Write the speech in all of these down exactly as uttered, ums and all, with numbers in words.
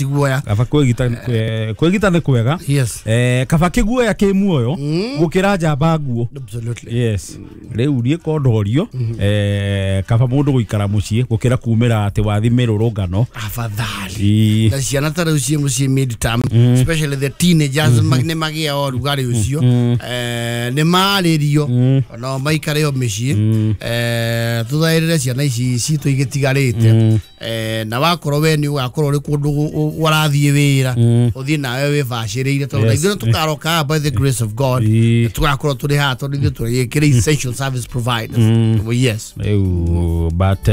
Guoya kaba kwĩgita kwĩgita nĩ kwega. Yes. Eh, kaba kĩguoya kĩ muoyo gũkĩra njamba nguo. Absolutely. Yes. Rĩu niĩ kondorio eh kaba mũndũ gũikara mũciĩ gũkĩra kumĩra atĩ wathi mĩrũrũngano. Afadhali. Na ciana ta rĩu ciĩ mũciĩ mid-term, especially the teenagers nĩ magĩa ũrugarĩ ũcio, eh nĩ marĩrio no maikare o mĩciĩ, eh tũthaĩrĩre ciana ici citũ igĩtigarĩte, eh na wakorwo we nĩ ũgakorwo ũrĩ kũndũ warathiĩ wĩra ũthiĩ nawe wĩbacĩrĩire tondũ ithuĩ tũkaroka by the grace of God tũgakorwo tũrĩ haha tondũ ithuĩ tũrĩ essential service providers. Yes. Rĩu but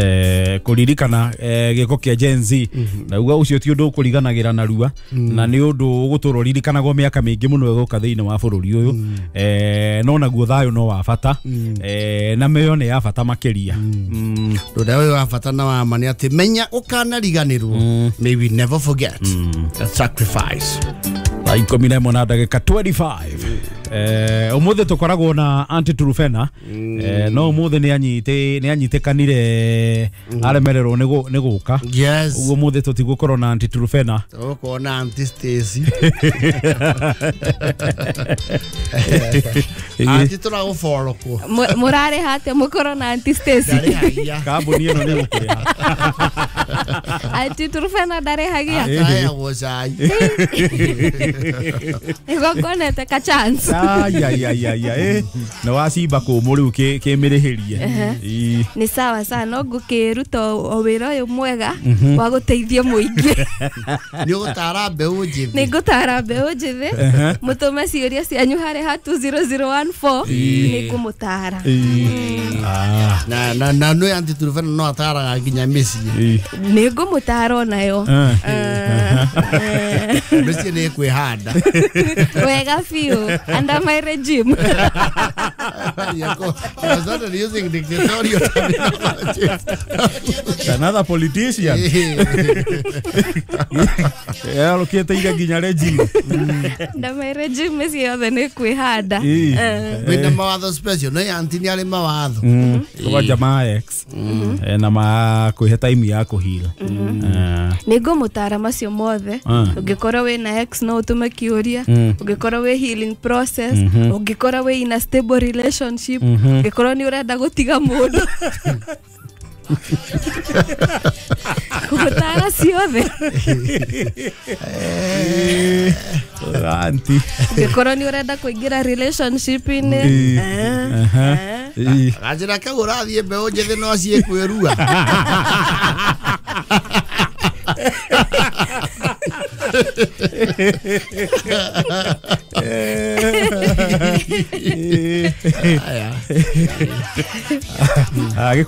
kũririkana gĩko kĩa Gen Z na uga ũcio ti ũndũ ũkũriganagĩra narua na nĩ ũndũ ũgũtũra ũririkanagwo mĩaka mĩingĩ mũno ĩgũka thĩinĩ wa bũrũri ũyũ, eh no naguo thayũ no wa bata, eh na mĩoyo nĩ ya bata makĩria. Ũndũ ũyũ wa bata na wa ma nĩ atĩ menya ũkanariganĩrwo, may we never forget the sacrifice. Thaa ikũmi na ĩmwe na ndagĩka twenty-five. Eh ũmũthĩ tũkoragwo na Aunty Trufena, eh no ũmũthĩ nĩ anyite nĩ anyitĩkanire aremererwo nĩ gũka. Yes. Ũguo ũmũthĩ tũtigũkorwo na Aunty Trufena, tũgũkorwo na Aunty Stacy. Aunty tũragũfollow kũ mũrarĩha atĩa mũkorwo na Aunty Stacy? Kambuni ĩno nĩ gũkũrĩha. Aunty Trufena ndarĩhagia. Ataheagwo cai. Nĩguo ka chance. Ai ai ai ai eh na wacimba kũmũ rĩu kĩmĩrĩhĩrie. Nĩ sawa sawa, no ngũkĩruta o wĩra ũyũ mwega wa gũteithia mũingĩ. Nĩ ũgũtara mbeũ njĩthĩ. Nĩ ngũtara mbeũ njĩthĩ mũtũme ciũria cianyu harĩ ha two zero zero one four nĩ ngũmũtara. Na na na nĩ Aunty Trufena no ataraga nginya mĩciĩ. Nĩ ngũmũtara onayo. Mĩciĩ nĩ ĩkwĩhanda wega biũ under my regime. I was not using dictatorial terminology. Another politician. Yeah, look at nginya regime. Under my regime mĩciĩ yothe nĩ kwĩhanda. Wĩna mawatho special, no Aunty nĩ arĩ mawatho. Kwa jamaa ex na ma kwĩhe time ya kũheal. Nĩ ngũmũtara macio mothe. Ũngĩkorwo wĩna ex no ũtũme kĩũria, ũngĩkorwo wĩ healing process, ũngĩkorwo wĩ in a stable relationship, ũngĩkorwo nĩ ũrenda gũtiga mũndũ. Kũgũtara ciothe. Aunty. Ũngĩkorwo nĩ ũrenda kũingĩra relationship-inĩ. Ganjĩra kau ũrathiĩ mbeũ njĩthĩ no ciĩkwĩrua.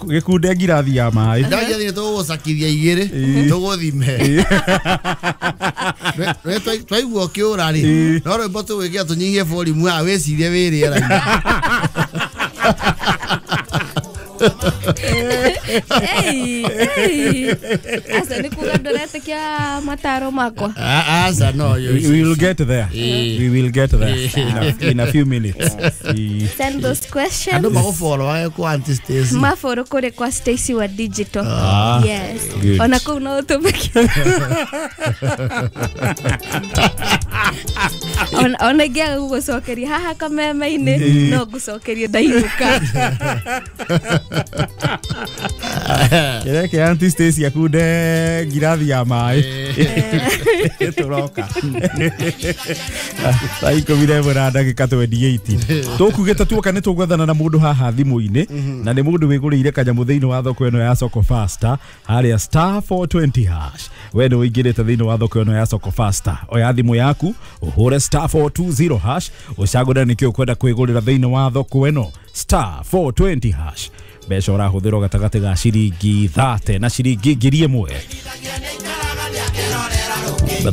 Gĩkunde ngirathi ya maĩ. Ndagia tũgũcakithia igĩrĩ tũgũthime. Twaigua ũkĩũra rĩ, no rwĩmbo tũgwĩkĩra tũnyihie volume haha wĩcirie wĩ rĩera-inĩ. Ei, ei. Asa nĩ kuga ndũretĩkia mataro makwa. Asa no. We will get there. We will get there in a, in a few minutes. Send those questions. Andũ magũfollow wage kwa Aunty Stacy. Mafollow kũrĩ kwa Stacy wa Digital. Ah, yes. Ona kũu no ũtũme. Ona ona ingĩaga gũgũcokeria haha kameme-inĩ no ngũcokerie ndainũka. Kĩreke Aunty Stacy akunde ngirathi ya maĩ. Tũroka thaa ikũmi na ĩmwe na ndagĩka twenty-eight. Tũkugĩte tuoka nĩ tũgwethana na mũndũ haha thimũ-inĩ, na nĩ mũndũ wĩgũrĩire kanyamũ thĩinĩ wa thoko ĩno ya Soko Faster harĩa star four twenty hash. We nĩ ũingĩrĩte thĩinĩ wa thoko ĩno ya Soko Faster, oya thimũ yaku ũhũre star four two zero hash ũcagũre nĩkĩ ũkwenda kwĩgũrĩra thĩinĩ wa thoko ĩno star four twenty hash. Mbeca ũrahũthĩrwo gatagatĩ ga ciringi thate na ciringi ngiri ĩmwe.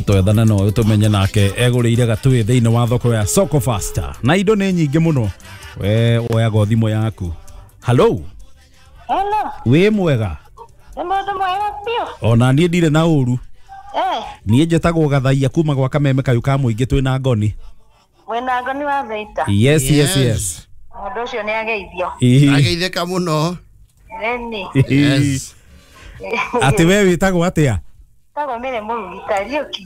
Twethana no tũmenye nake egũrĩire gatwĩ thĩinĩ wa thoko ya Soko Faster na indo nĩ nyingĩ mũno. We oyaga thimũ yaku. Hello. Hello. Wĩ mwega? Nĩ mũndũ mwega biũ. Ona niĩ ndirĩ na ũru. Eh. Niĩ njĩtagwo Gathaia kuma gwa Kameme kayũ ka mũingĩ twĩna Ngoni. Mwĩna Ngoni wa Thaita. Yes, yes, yes. Mũndũ ũcio nĩ ageithio. Ageithĩka mũno. Nĩni. Yes. Atĩ we wĩtagwo atĩa? Tagwo Mĩrĩ Mũrugi Kariũki.